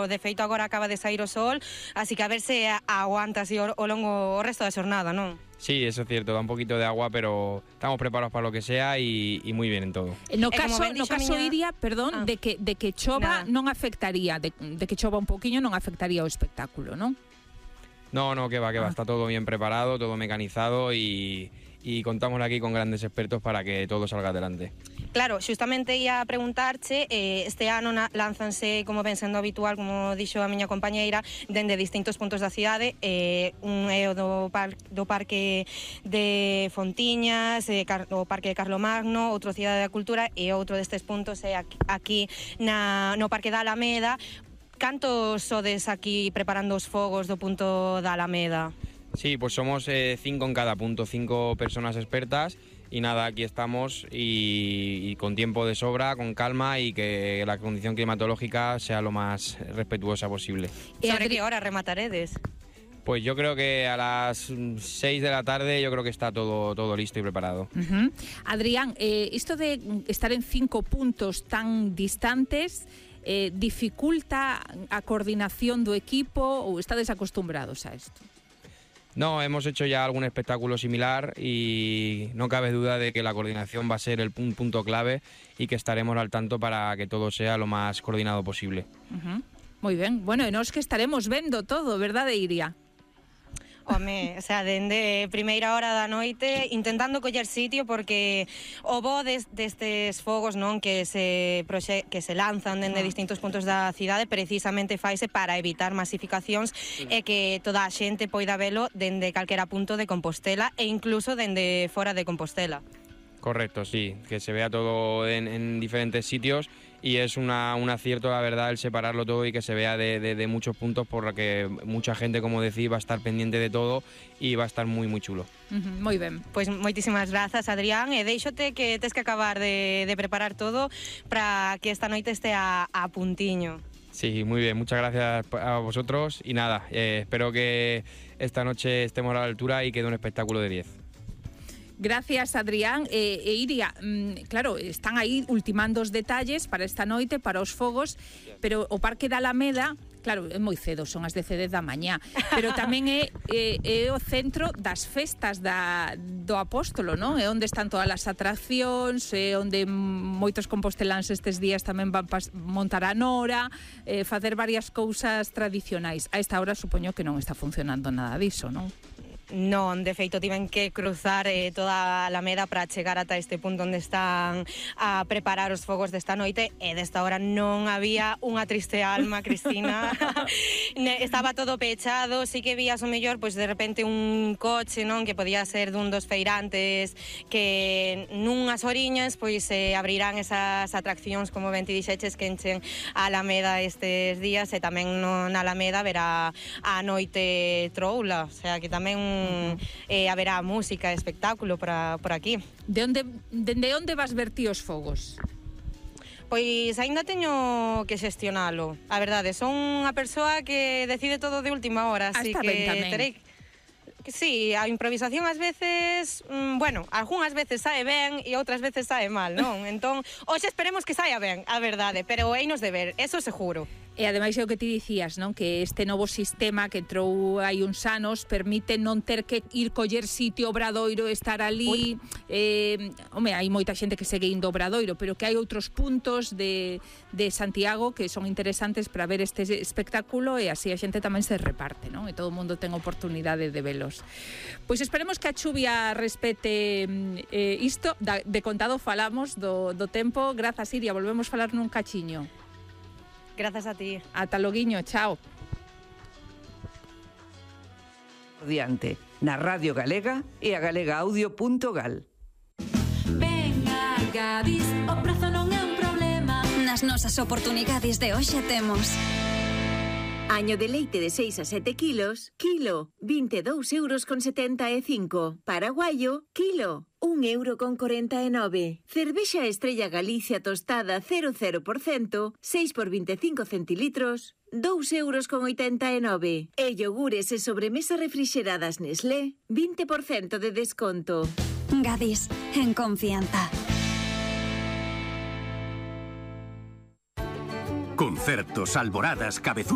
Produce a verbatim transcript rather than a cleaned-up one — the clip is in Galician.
De feito agora acaba de sair o sol, así que a ver se aguanta así o, o longo o resto da xornada, non? Sí, eso es cierto, da un poquito de agua, pero estamos preparados para lo que sea y, y muy bien en todo. No caso, no caso miña... Iria, perdón, ah. de que de que chova Nada. non afectaría, de, de que chova un poquinho non afectaría o espectáculo, non? No, no, que va, que va, ah. está todo bien preparado, todo mecanizado y, y contamos aquí con grandes expertos para que todo salga adelante. Claro, xustamente ia preguntarche, eh, este ano na, lánzanse, como ven sendo habitual, como dixo a miña compañeira, dende distintos puntos da cidade, eh, un é o do, par, do Parque de Fontiñas, eh, car, o Parque de Carlomagno, outro Cidade da Cultura, e outro destes puntos é aquí, aquí na, no Parque da Alameda. Cantos sodes aquí preparando os fogos do punto da Alameda? Sí, pues somos eh, cinco en cada punto, cinco personas expertas. Y nada, aquí estamos y, y con tiempo de sobra, con calma y que la condición climatológica sea lo más respetuosa posible. ¿Sobre qué hora remataredes? Pues yo creo que a las seis de la tarde yo creo que está todo, todo listo y preparado. Uh-huh. Adrián, eh, esto de estar en cinco puntos tan distantes, eh, ¿dificulta a coordinación do equipo ou estades acostumbrados a esto? No, hemos hecho ya algún espectáculo similar y no cabe duda de que la coordinación va a ser el punto clave y que estaremos al tanto para que todo sea lo más coordinado posible. Uh-huh. Muy ben. Bueno, e nos que estaremos vendo todo, verdade, Iria? Home, o sea, dende primeira hora da noite intentando coller sitio porque o bo des, destes fogos, non, que se proxe, que se lanzan dende distintos puntos da cidade precisamente faise para evitar masificacións e que toda a xente poida velo dende calquera punto de Compostela e incluso dende fora de Compostela. Correcto, sí, que se vea todo en, en diferentes sitios y es una, un acierto, la verdad, el separarlo todo y que se vea de, de, de muchos puntos porque mucha gente, como decís, va a estar pendiente de todo y va a estar muy, muy chulo. Uh-huh, moi ben. Pois moitísimas grazas, Adrián, e deixote que tes que acabar de, de preparar todo para que esta noite este a, a puntiño. Sí, muy bien, muchas gracias a vosotros y nada, eh, espero que esta noche estemos a la altura y quede un espectáculo de diez. Gracias, Adrián. E, e Iria, mm, claro, están aí ultimando os detalles para esta noite, para os fogos, pero o Parque da Alameda, claro, é moi cedo, son as dez da mañá, pero tamén é, é, é o centro das festas da, do Apóstolo, non? É onde están todas as atraccións, é onde moitos composteláns estes días tamén van pas, montar a nora, eh, facer varias cousas tradicionais. A esta hora supoño que non está funcionando nada diso, non? Non, de feito tiven que cruzar eh, toda a Alameda para chegar ata este punto onde están a preparar os fogos desta noite e desta hora non había unha triste alma, Cristina. Estaba todo pechado, sí que vías o mellor, pois de repente un coche, non, que podía ser dun dos feirantes que nunhas horiñas pois se eh, abrirán esas atraccións, como ben ti dixeches, que enchen a Alameda estes días e tamén no, na Alameda verá a noite troula, o sea que tamén eh, haberá música e espectáculo por, por aquí. De onde, dende onde vas ver ti os fogos? Pois aínda teño que xestionalo. A verdade, son unha persoa que decide todo de última hora, así que terei... Sí, a improvisación ás veces, mmm, bueno, algunhas veces sae ben e outras veces sae mal, non? Entón, hoxe esperemos que saia ben, a verdade, pero einos de ver, eso seguro. E ademais é o que ti dicías, non? Que este novo sistema que entrou hai uns anos permite non ter que ir coller sitio Obradoiro, estar ali. Eh, home, hai moita xente que segue indo Obradoiro, pero que hai outros puntos de, de Santiago que son interesantes para ver este espectáculo e así a xente tamén se reparte, non? E todo o mundo ten oportunidade de velos. Pois esperemos que a chuvia respete eh, isto. Da, de contado falamos do, do tempo. Grazas, Iria, volvemos falar nun cachiño. Grazas a ti. Ata loguiño, chao. Diante, na Radio Galega e a galega audio punto gal. Venga, Gadis, o prazo non é un problema. Nas nosas oportunidades de hoxe temos año de leite de seis a sete kilos, kilo, vinte e dous euros con setenta e cinco. Paraguayo, kilo, un euro con corenta e nove. Cervexa Estrella Galicia tostada cero cero por cento, seis por vinte e cinco centilitros, dous euros con oitenta e nove. E yogures e sobremesa refrixeradas Nestlé, vinte por cento de desconto. Gadis, en confianza. Concertos, alboradas, cabezudos.